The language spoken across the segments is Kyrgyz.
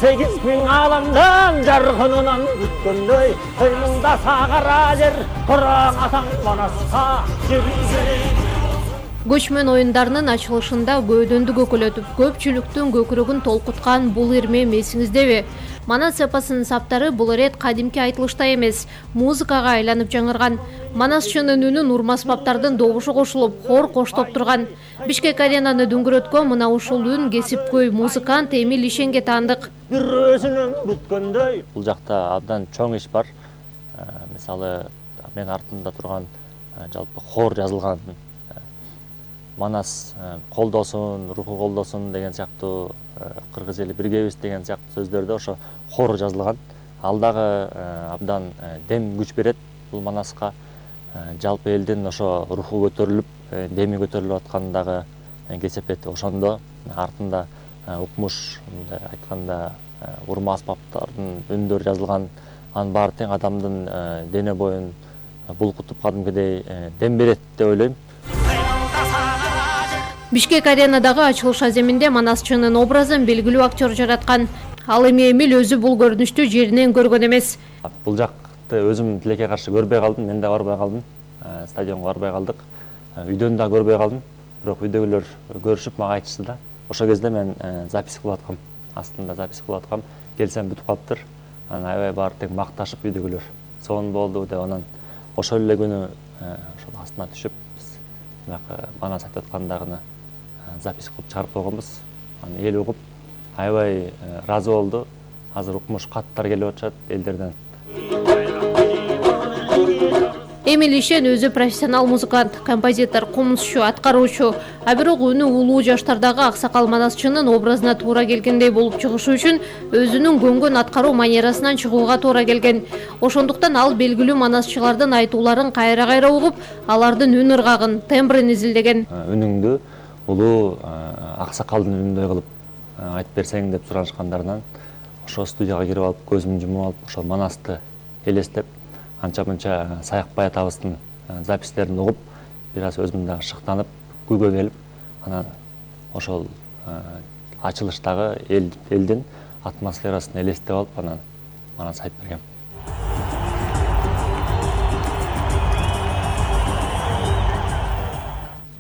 8.000 alamdan jargınынан күткөндөй Көйміңда сағара жер Құран атаң Манасқа Көчмөн оюндарынын ачылышында көөдөндү көкөлөтүп, көпчүлүктүн көкүрөгүн толкуткан бул ирмем эсиңиздеби? Манас эпосунун саптары бул ирет кадимки айтылышта эмес, музыкага айланып жаңырган. Манасчынын үнү нурмасбаптардын добушу кошулуп, хор коштоп турган. Бишкек аренаны дүңгүрөткөн мына ушул үн кесипкөй музыкант Эмиль Ишенге таандык. Бул жакта абдан чоң иш бар. Мисалы, мен артымда турган жалпы хор жазылган. Манас колдосун, руху колдосун деген сыяктуу, кыргыз эли биргебиз деген сыяктуу сөздөрдө ошо хор жазылган. Ал дагы абдан дем күч берет бул Манаска. Жалпы элдин ошо руху көтөрүлүп, деми көтөрүлүп атканы дагы кесепет ошондо. Артында укмуш, айтканда урма аспаптардын үндөрү жазылган. Анын баары тең адамдын дене боюн булкутуп кадимкидей дем берет деп ойлойм. Бишкек аренадагы ачылыш аземинде Манасчынын образын белгилүү актер жараткан. Ал эми Эмиль өзү бул көрүнүштү жеринен көргөн эмес. Бул жакты өзүм тилекке каршы көрбөй калдым, мен да барбай калдым. Стадионго барбай калдык. Үйдөн да көрбөй калдым. Бирок үйдөгүлөр көрүшүп мага айтышты да. Ошол кезде мен запись кылып аткам. Астында запись кылып аткам. Келсем бүтүп калыптыр. Анан аябай баары тең макташып үйдөгүлөр. Сонун болду деп анан ошол эле күнү ошол астына түшүп Манас айтып аткандагыны запись кылып чыгарып койгонбуз. Аны эл угуп аябай ыраазы болду. Азыр укмуш каттар келип атышат элдерден. Эмиль Ишен өзү профессионал музыкант, композитор, комузчу, аткаруучу. А бирок үнү улуу жаштардагы аксакал Манасчынын образына туура келгендей болуп чыгышы үчүн өзүнүн көнгөн аткаруу манерасынан чыгууга туура келген. Ошондуктан ал белгилүү манасчылардын айтууларын кайра-кайра угуп, алардын үн ыргагын, тембрин изилдеген. Үнүңдү улуу аксакалдын үнүндөй кылып айтып берсең деп суранышкандарынан ошо студияга кирип алып, көзүмдү жумуп алып, ошол Манасты элестеп, анча-мынча Саякбай атабыздын записьтерин угуп, бир аз өзүм да шыктанып, күйгө келип, анан ошол ачылыштагы элдин атмосферасын элестеп алып, анан Манас айтып бергем.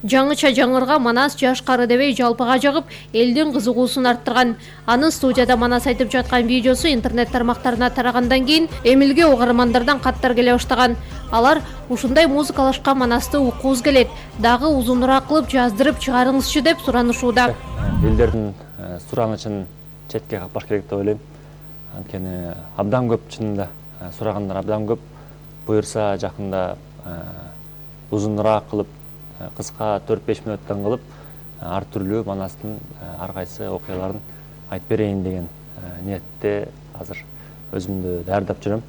Жаңыча жаңырга Манас жаш кары дебей жалпыга жагып, элдин кызыгуусун арттырган. Анын студияда Манас айтып жаткан видеосу интернет тармактарына тарагандан кийин Эмилге угармандардан каттар келе баштаган. Алар ушундай музыкалашкан Манасты уккубуз келет, дагы узунураак кылып жаздырып чыгарыңызчы деп суранышууда. Элдердин суранычын четке каппаш керек деп ойлойм. Анткени абдан көп, чынында сурагандар абдан көп. Буюрса жакында узунураак кылып, кыска 4-5 мүнөттөн кылып, ар түрлүү Манастын ар кайсы окуяларын айтып берейин деген ниетте азыр өзүмдү даярдап жүрөм.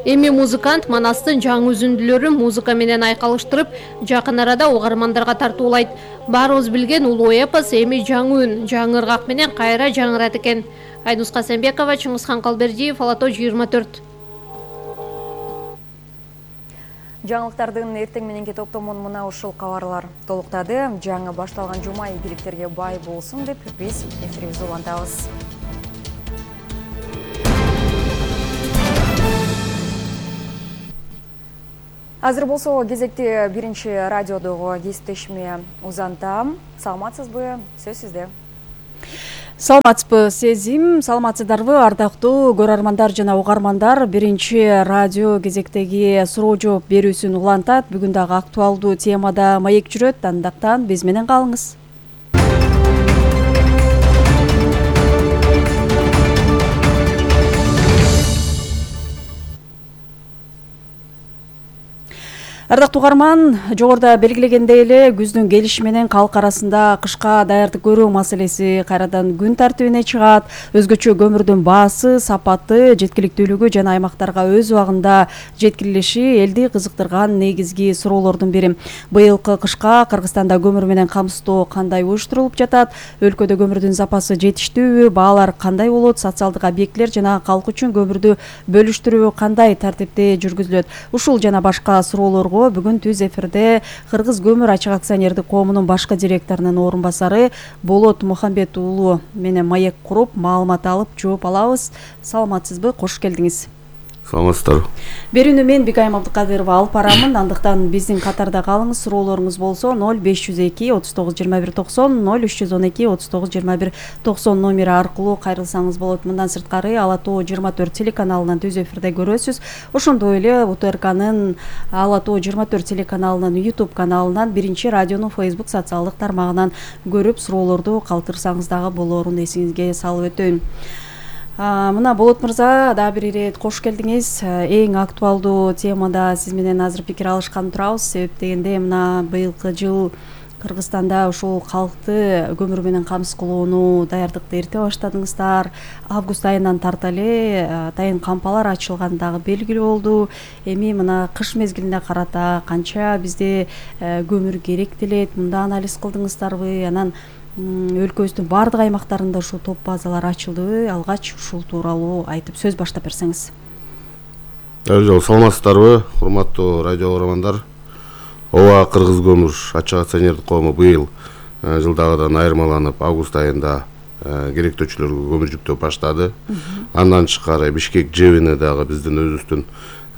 Эми музыкант Манастын жаңы үзүндүлөрүн музыка менен айкалыштырып, жакын арада угармандарга тартуулайт. Баарыбыз билген улуу эпос эми жаңы үн, жаңы ыргак менен кайра жаңырат экен. Айнус Касенбекова, Чыңгызхан Калбердиев, Алато 24. Жаңылыктардын эртең мененки топтомун мына ушул кабарлар толуктады. Жаңы башталган жума ийгиликтерге бай болсун деп биз эфирибизди улантабыз. Азыр болсо кезекти биринчи радиодогу кесиптешиме узантам. Саламатсызбы? Сөз сизде. Саламатсызбы, Сезим. Саламатсыздарбы, ардактуу көрөрмандар жана угармандар. Биринчи радио кезектеги суроо жооп берүүсүн улантат. Бүгүн дагы актуалдуу темада маек жүрөт. Андактан биз менен калыңыз. Ардактуу угарман, жогоруда белгилегендей эле күздүн келиши менен калк арасында кышка даярдык көрүү маселеси кайрадан күн тартибине чыгат. Өзгөчө көмүрдүн баасы, сапаты, жеткиликтүүлүгү жана аймактарга өз убагында жеткирилиши элди кызыктырган негизги суроолордун бири. Быйылкы кышка Кыргызстанда көмүр менен камсыздоо кандай уюштурулуп жатат? Өлкөдө көмүрдүн запасы жетиштүүбү? Баалар кандай болот? Социалдык объектилер жана калк үчүн көмүрдү бөлүштүрүү кандай тартипте жүргүзүлөт? Ушул жана башка суроолорго тууралуу бүгүн түз эфирде Кыргыз көмүр ачык акционердик коомунун башкы директорунун орун басары Болот Мухамбет уулу менен маек куруп маалымат алып жооп алабыз. Саламатсызбы? Кош келдиңиз. Саламатсыздарбы. Берүүнү мен Бикайым Абдыкадырова алып барамын. Андыктан биздин катарда калыңыз. Суроолоруңуз болсо 0502 39 21 90 0312 39 21 90 номери аркылуу кайрылсаңыз болот. Мындан сырткары Ала Тоо 24 телеканалынан түз эфирде көрөсүз. Ошондой эле УТРКнын Ала Тоо 24 телеканалынын YouTube каналынан, биринчи радионун Facebook социалдык тармагынан көрүп суроолорду калтырсаңыз дагы болоорун эсиңизге салып өтөйүн. Мына Болот мырза, дагы бир ирет кош келдиңиз. Эң актуалдуу темада сиз менен азыр пикир алышкан турабыз. Себеп дегенде мына быйылкы жыл Кыргызстанда ушул калкты көмүр менен камсыз кылууну даярдыкты эрте баштадыңыздар. Август айынан тарта эле атайын кампалар ачылган дагы белгилүү болду. Эми мына кыш мезгилине карата канча бизде көмүр керек делет, мында анализ кылдыңыздарбы? Анан өлкөбүздүн баардык аймактарында ушул топ базалар ачылдыбы? Алгач ушул тууралуу айтып сөз баштап берсеңиз. Саламатсыздарбы, урматтуу радио угармандар. Ооба, Кыргыз көмүр ачык акционердик коому быйыл жылдагыдан айырмаланып август айында керектөөчүлөргө көмүр жүктөп баштады. Андан тышкары Бишкек ЖЭБине дагы биздин өзүбүздүн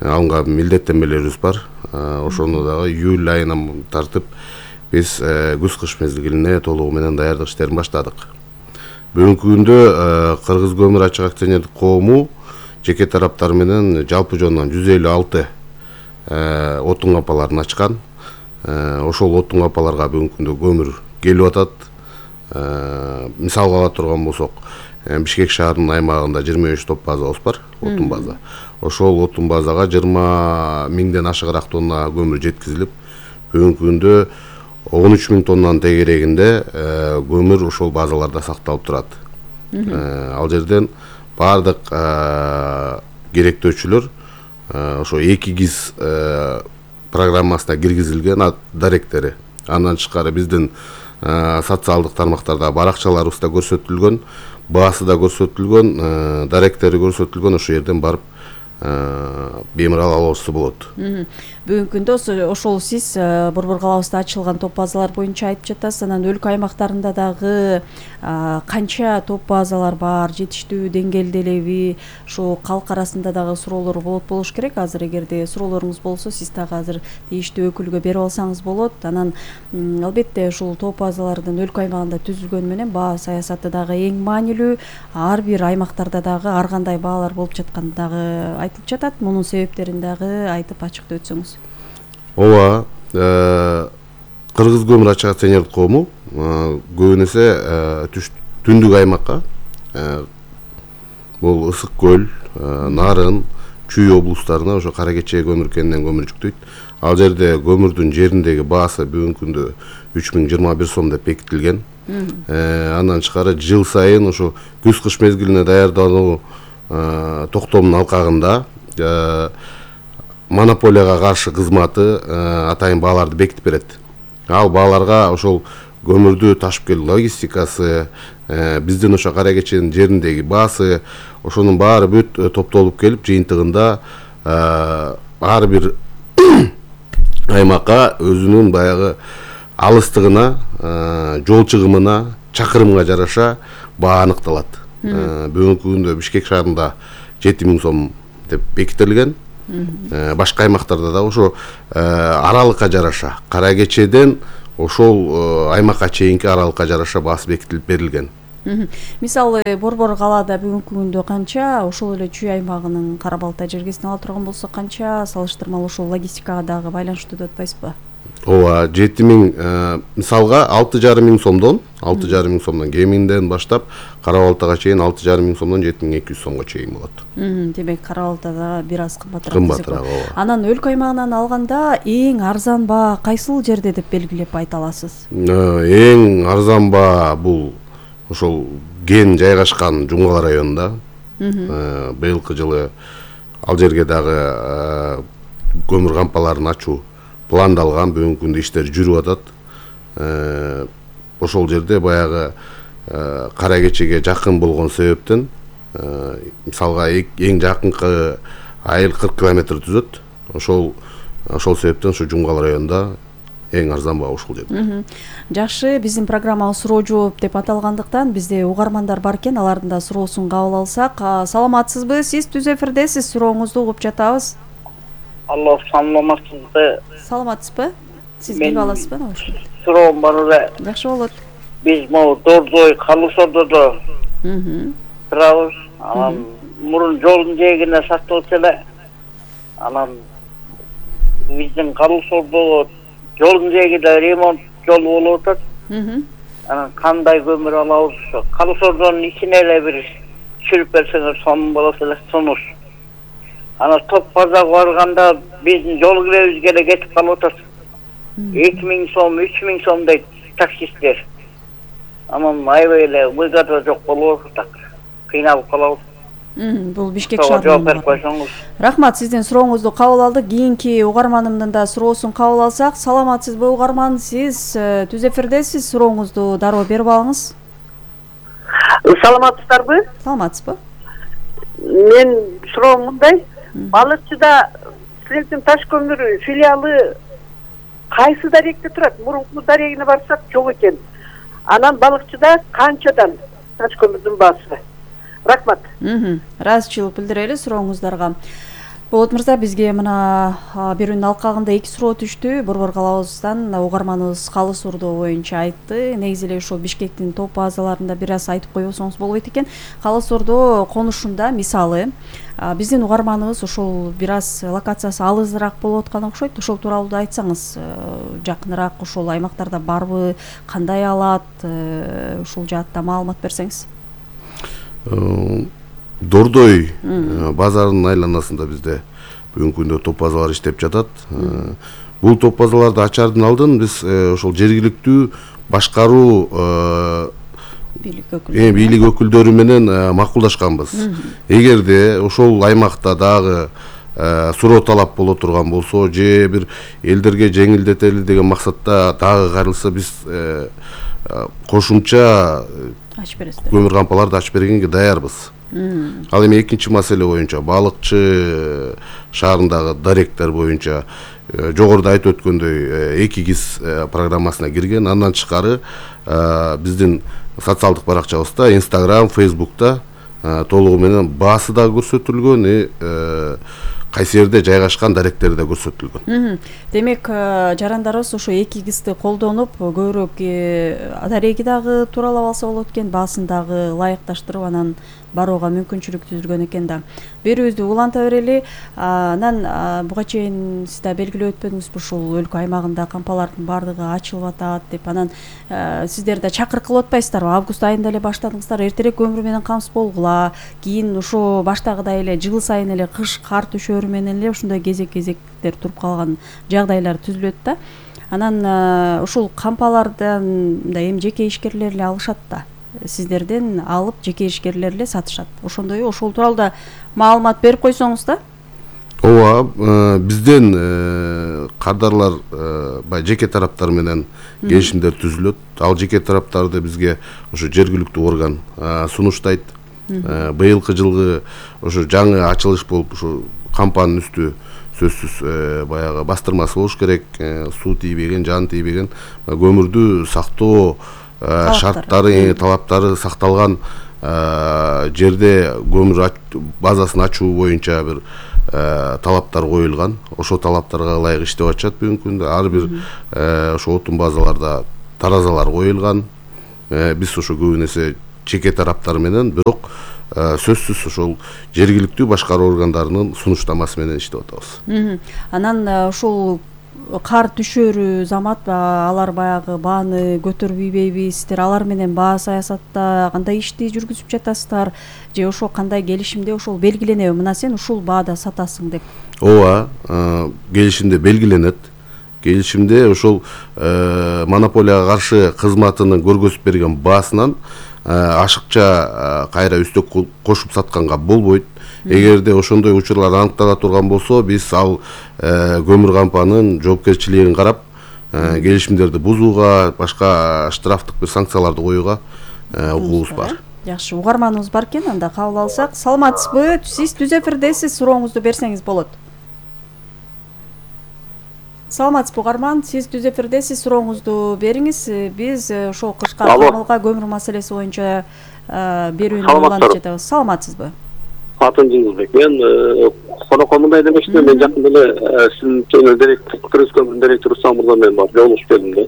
алынган милдеттенмелерибиз бар. Ошону дагы июль айынан тартып биз күз-кыш мезгилине толугу менен даярдык иштерин баштадык. Бүгүнкү күндө Кыргыз көмүр ачык акционердик коому жеке тараптар менен жалпы жонунан 156 отун кампаларын ачкан. Ошол отун кампаларга бүгүнкү күндө көмүр келип атат. Мисалга ала турган болсок, Бишкек шаарынын аймагында 23 топ базабыз бар, отун база. Ошол отун базага 20 миңден ашыгыраак тонна көмүр жеткизилип, бүгүнкү күндө 13 миң тоннанын тегерегинде көмүр ошол базаларда сакталып турат. Ал жерден бардык керектөөчүлөр ошо 2 ГИЗ программасына киргизилген даректери. Андан тышкары биздин социалдык тармактарда баракчаларыбызда көрсөтүлгөн, баасы да көрсөтүлгөн, даректери көрсөтүлгөн, ошол жерден барып бемурал алуусу болот. Бүгүнкү күндө ошол сиз Борбор калабызда ачылган топ базалар боюнча айтып жатасыз. Анан өлкө аймактарында дагы канча топ базалар бар, жетиштүү деңгээлде элеби? Ошо калк арасында дагы суроолор болуш керек. Азыр эгерде суроолоруңуз болсо, сиз дагы азыр тийиштүү өкүлгө берип алсаңыз болот. Анан албетте ушул топ базалардын өлкө аймагында түзүлгөнү менен баа саясаты дагы эң маанилүү. Ар бир аймактарда дагы ар кандай баалар болуп жатканы дагы айтылып жатат. Мунун себептерин дагы айтып ачыктап өтсөңүз. Ооба, Кыргыз көмүр ачык акционердик коому көбүн эсе түндүк аймакка, бул Ысык көл, Нарын, Чүй облустарына ошо Кара Кече көмүр кенинен көмүр жүктөйт. Ал жерде көмүрдүн жериндеги баасы бүгүнкү күндө 3021 сом деп бекитилген. Андан тышкары жыл сайын ошо күз-кыш мезгилине даярдануу токтомдун алкагында монополияга каршы кызматы атайын бааларды бекитип берет. Ал бааларга ошол көмүрдү ташып келүү логистикасы, биздин ошо Кара Кеченин жериндеги баасы, ошонун баары бүт топтолуп келип, жыйынтыгында ар бир аймакка өзүнүн баягы алыстыгына, жол чыгымына, чакырымга жараша баа аныкталат. Бүгүнкү күндө Бишкек шаарында 7000 сом деп бекитилген. Башка аймактарда да ошо аралыкка жараша, Кара Кечеден ошол аймакка чейинки аралыкка жараша баасы бекитилип берилген. Мисалы Борбор калаада бүгүнкү күндө канча, ошол эле Чүй аймагынын Кара Балтай жергесине ала турган болсок канча, салыштырмалуу ошол логистикага дагы байланыштуу деп атпайсызбы? Ооба, 7000 мисалга 6,5 сомдон, 6,5 сомдон кеминден баштап Кара Балтайга чейин 6,5 сомдон 7200 сомго чейин болот. Демек Кара Балтайда бир аз кымбатыраак. Кымбатыраак. Анан өлкө аймагынан алганда эң арзан баа кайсыл жерде деп белгилеп айта аласыз? Эң арзан баа бул ошол ген жайгашкан Жумгала районунда. Быйылкы жылы ал жерге дагы көмүр кампаларын ачуу пландалган, бүгүнкү күндө иштер жүрүп атат. Ошол жерде баягы Кара Кечеге жакын болгон себептен мисалга эң жакынкы айыл 40 километр түзөт. Ошол ошол себептен ушу Жумгал районунда эң арзан баа ушул жерде. Жакшы, биздин программабыз суроо жооп деп аталгандыктан бизде угармандар бар экен, алардын да суроосун кабыл алсак. Саламатсызбы? Сиз түз эфирдесиз, сурооңузду угуп жатабыз. Алло, саламатсызбы? Саламатсызбы? Сиз ким аласызбы? Суроом бар эле. Жакшы болот. Биз могу Дордой, Калысордодо турабыз. Анан мурун жолдун жээгине сакталып эле. Анан биздин Калысордо жолдун жээгиде ремонт жолу болуп атат. Анан кандай көмүр алабыз? Калысордонун ичине эле бир түшүрүп берсеңер сонун болот эле, сунуш. Анан Топ базарга барганда биздин жол киребизге эле кетип калып атат. 2000 сом, 3000 сом дейт таксисттер. Анан аябай эле мыйгада жок болуп атат. Кыйналып калабыз. Бул Бишкек шаарында. Рахмат, сиздин сурооңузду кабыл алдык. Кийинки угарманымдын да суроосун кабыл алсак. Саламатсызбы угарман? Сиз түз эфирдесиз, сурооңузду дароо берип алыңыз. Саламатсыздарбы? Саламатсызбы? Мен суроом мындай. Балыкчыда силердин Таш көмүр филиалы кайсы даректе турат? Мурунку дарегине барсак жок экен. Анан Балыкчыда канчадан Таш көмүрдүн баасы? Рахмат. Ыраазычылык билдирели сурооңуздарга. Болот мырза, бизге мына берүүнүн алкагында 2 суроо түштү. Борбор калабыздан угарманыбыз Калыс Ордо боюнча айтты. Негизи эле ушул Бишкектин топ базаларында бир аз айтып койбосоңуз болбойт экен. Калыс Ордо конушунда мисалы биздин угарманыбыз ушул бир аз локациясы алысыраак болуп атканы окшойт. Ошол тууралуу да айтсаңыз, жакыныраак ошол аймактарда барбы, кандай алат, ушул жаатта маалымат берсеңиз. Дордой базарынын айланасында бизде бүгүнкү күндө топ базалар иштеп жатат. Бул топ базаларды ачаардын алдын биз ошол жергиликтүү башкаруу бийлик өкүлдөрү менен макулдашканбыз. Эгерде ошол аймакта дагы суроо талап боло турган болсо, же бир элдерге жеңилдетели деген максатта дагы кайрылса, биз кошумча көмүр кампаларды ачып бергенге даярбыз. Ал эми экинчи маселе боюнча Балыкчы шаарындагы даректер боюнча жогоруда айтып өткөндөй 2 ГИС программасына кирген. Андан тышкары биздин социалдык баракчабызда, Instagram, Facebook'та толугу менен баасы да көрсөтүлгөн, кайсы жерде жайгашкан даректери да көрсөтүлгөн. Демек, жарандарыбыз ошо 2 ГИСти колдонуп, көбүрөөк дареги дагы тууралап алса болот экен, баасын дагы ылайыкташтырып анан барууга мүмкүнчүлүк түзүлгөн экен да. Берүүбүздү уланта берели. Анан буга чейин сиз да белгилеп өтпөдүңүзбү, ушул өлкө аймагында кампалардын баардыгы ачылып атат деп. Анан сиздер да чакырык кылып атпайсыздарбы? Август айында эле баштадыңыздар, эртерээк көмүр менен камсыз болгула. Кийин ошо баштагыдай эле жыл сайын эле кыш кар түшөрү менен эле ушундай кезектер туруп калган жагдайлар түзүлөт да. Анан ушул кампалардан эми жеке ишкерлер эле алышат да. Сиздерден алып жеке ишкерлер эле сатышат. Ошондой ошол тууралуу да маалымат берип койсоңуз да. Ооба, бизден кардарлар жеке тараптар менен келишимдер түзүлөт. Ал жеке тараптарды бизге ошо жергиликтүү орган сунуштайт. Быйылкы жылгы ошо жаңы ачылыш болуп, ошо кампанын үстү сөзсүз баягы бастырмасы болуш керек, суу тийбеген, жан тийбеген, көмүрдү сактоо шарттары, талаптары сакталган жерде көмүр базасын ачуу боюнча бир талаптар коюлган. Ошол талаптарга ылайык иштеп атышат бүгүнкү күндө. Ар бир ошо отун базаларда таразалар коюлган. Биз ошо көбүн эсе жеке тараптар менен, бирок сөзсүз ошол жергиликтүү башкаруу органдарынын сунуштамасы менен иштеп атабыз. Анан ушул кар түшөрү замат, алар баягы бааны көтөрбөйбейби? Сиздер алар менен баа саясатта кандай ишти жүргүзүп жатасыздар? Же ошо кандай келишимде ошол белгиленеби? Мына сен ушул баада сатасың деп. Ооба, келишимде белгиленет. Келишимде ошол монополияга каршы кызматынын көргөзүп берген баасынан ашыкча кайра үстөк кошуп сатканга болбойт. Эгерде ошондой учурлар аныктала турган болсо, биз ал көмүр кампанын жоопкерчилигин карап, келишимдерди бузууга, башка штрафтык бир санкцияларды коюуга укугубуз бар. Жакшы, угарманыбыз бар экен, анда кабыл алсак. Саламатсызбы? Сиз түз эфирдесиз, сурооңузду берсеңиз болот. Саламатсызбы угарман, сиз түз эфирдесиз, сурооңузду бериңиз. Биз ошол кышка Алло. камылга көмүр маселеси боюнча берүүнү улантып жатабыз. Саламатсызбы? Атын Жеңилбек. Мен конокко мындай демекчимин, мен жакында эле сиздин Кыргыз көмүрүнүн директору Самурда мен бар, жолугуп келдим да.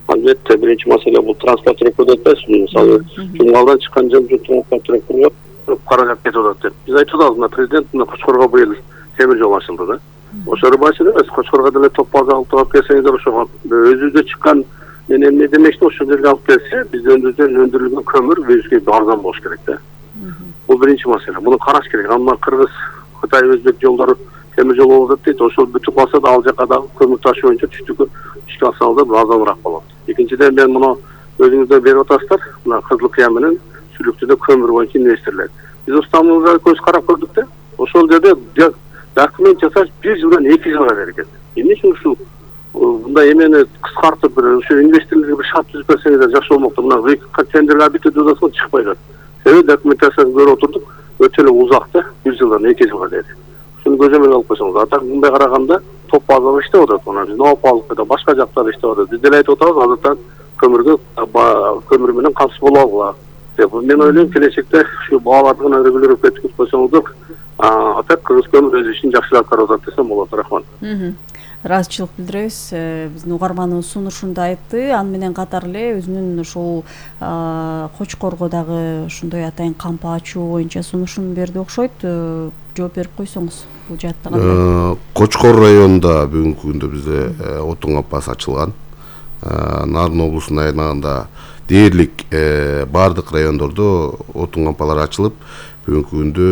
Албетте биринчи маселе бул транспорттөргө деп атпайсызбы? Мисалы, Жумгалдан чыккан жол транспорттөргө каражат кетип атат деп. Биз айтып атабыз, мына президент мына Кочкорго быйыл темир жол ачылды да. Ошол башында эмес, Кочкорго деле топ база алып келсеңиздер, ошого өзүбүздө чыккан мен эмне демекчимин, ошол жерге алып келсе, биздин өндүрүлгөн көмүр бизге арзан болуш керек да. Бул биринчи маселе. Муну караш керек. Анда Кыргыз, Кытай, Өзбек жолдору темир жол болуп дейт. Ошол бүтүп калса да ал жака дагы көмүр ташуу боюнча түштүккө ишке алсаңыздар арзаныраак болот. Экинчиден мен муну өзүңүздөр берип атасыздар. Мына Кызылкыя менен Сүлүктүдө көмүр боюнча инвесторлор. Биз Устамбулга көз карап көрдүк да. Ошол жерде документ жасаш 1 жылдан 2 жылга берген. Эмне үчүн ушул мындай эмени кыскартып бир ошо инвесторлорго бир шарт түзүп берсеңиздер жакшы болмокто. Мына тендерлер бүтүп жатса чыкпай жатат. Себеби документацияны көрүп отурдук, өтө эле узак да, 1 жылдан 2 жылга деди. Ушуну көзөмөлгө алып койсоңуз, атак мындай караганда топ базалар иштеп атат, мына биздин Опалыкта башка жактар иштеп атат. Биз деле айтып атабыз, азыртан көмүр менен камсыз боло алгыла деп. Мен ойлойм, келечекте ушу бааларды гана регулировать этип койсоңуздар, атак Кыргыз көмүр өз ишин жакшы аткарып атат десем болот. Рахмат. Ыраазычылык билдиребиз. Биздин угарманыбыз сунушунда айтты. Аны менен катар эле өзүнүн ушул Кочкорго дагы ушундай атайын кампа ачуу боюнча сунушун берди окшойт. Жооп берип койсоңуз бул жаатта кандай? Кочкор районунда бүгүнкү күндө бизде отун кампасы ачылган. Нарын облусунун аймагында дээрлик баардык райондордо отун кампалары ачылып, бүгүнкү күндө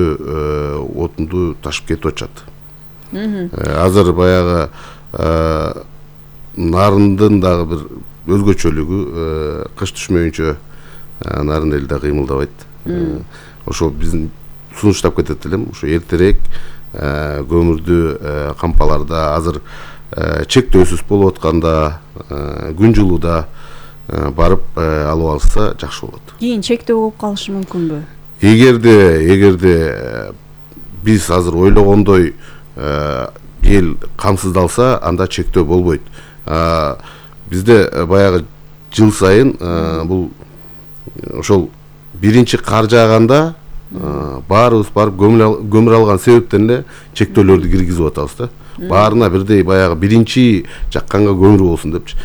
отунду ташып кетип атышат. Азыр баягы Нарындын дагы бир өзгөчөлүгү кыш түшмөйүнчө Нарын эл да кыймылдабайт. Ошол биздин сунуштап кетет элем, ошо эртерээк көмүрдү кампаларда азыр чектөөсүз болуп атканда, күн жылууда барып алып алса жакшы болот. Кийин чектөө болуп калышы мүмкүнбү? Эгерде биз азыр ойлогондой эл камсыздалса, анда чектөө болбойт. Бизде баягы жыл сайын бул ошол биринчи кар жааганда баарыбыз барып көмүр алган себептен эле чектөөлөрдү киргизип атабыз да. Баарына бирдей баягы биринчи жакканга көмүр болсун депчи.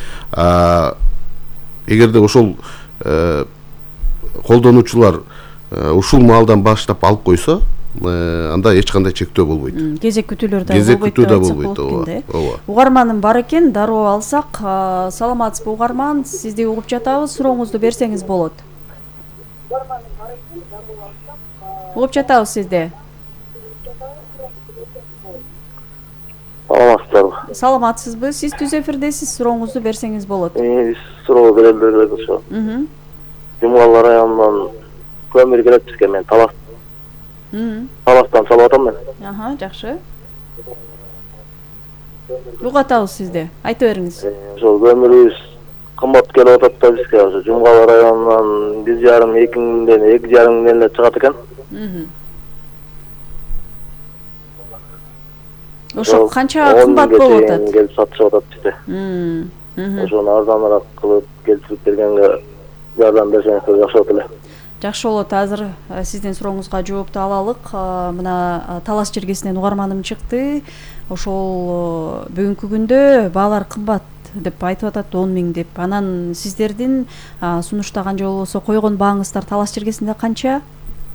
Эгерде ошол колдонуучулар ушул маалдан баштап алып койсо, анда эч кандай чектөө болбойт. Кезек күтүүлөр да болбойт. Ооба. Угарманым бар экен, дароо алсак. Саламатсызбы угарман, сизди угуп жатабыз, сурооңузду берсеңиз болот. Угуп жатабыз сизди. Саламатсыздарбы? Саламатсызбы? Сиз түз эфирдесиз, сурооңузду берсеңиз болот. Суроо берелер ошо. Жумгал районунан көмүр келет бизге, мен Таластан салып атам мен. Жакшы. Угатабыз сизди. Айтып бериңиз. Ошол көмүрүбүз кымбат келип атат да бизге. Ошо Жумгал районунан 1,5-2 миңден 2,5 миңден эле чыгат экен. Ошо канча кымбат болуп атат? Келип сатышып атат бизде. Ошону арзаныраак кылып келтирип бергенге жардам берсеңиздер жакшы болот эле. Жакшы болот. Азыр сиздин сурооңузга жоопту алалык. Мына Талас жергесинен угарманым чыкты. Ошол бүгүнкү күндө баалар кымбат деп айтып атат, 10 миң деп. Анан сиздердин сунуштаган же болбосо койгон бааңыздар Талас жергесинде канча?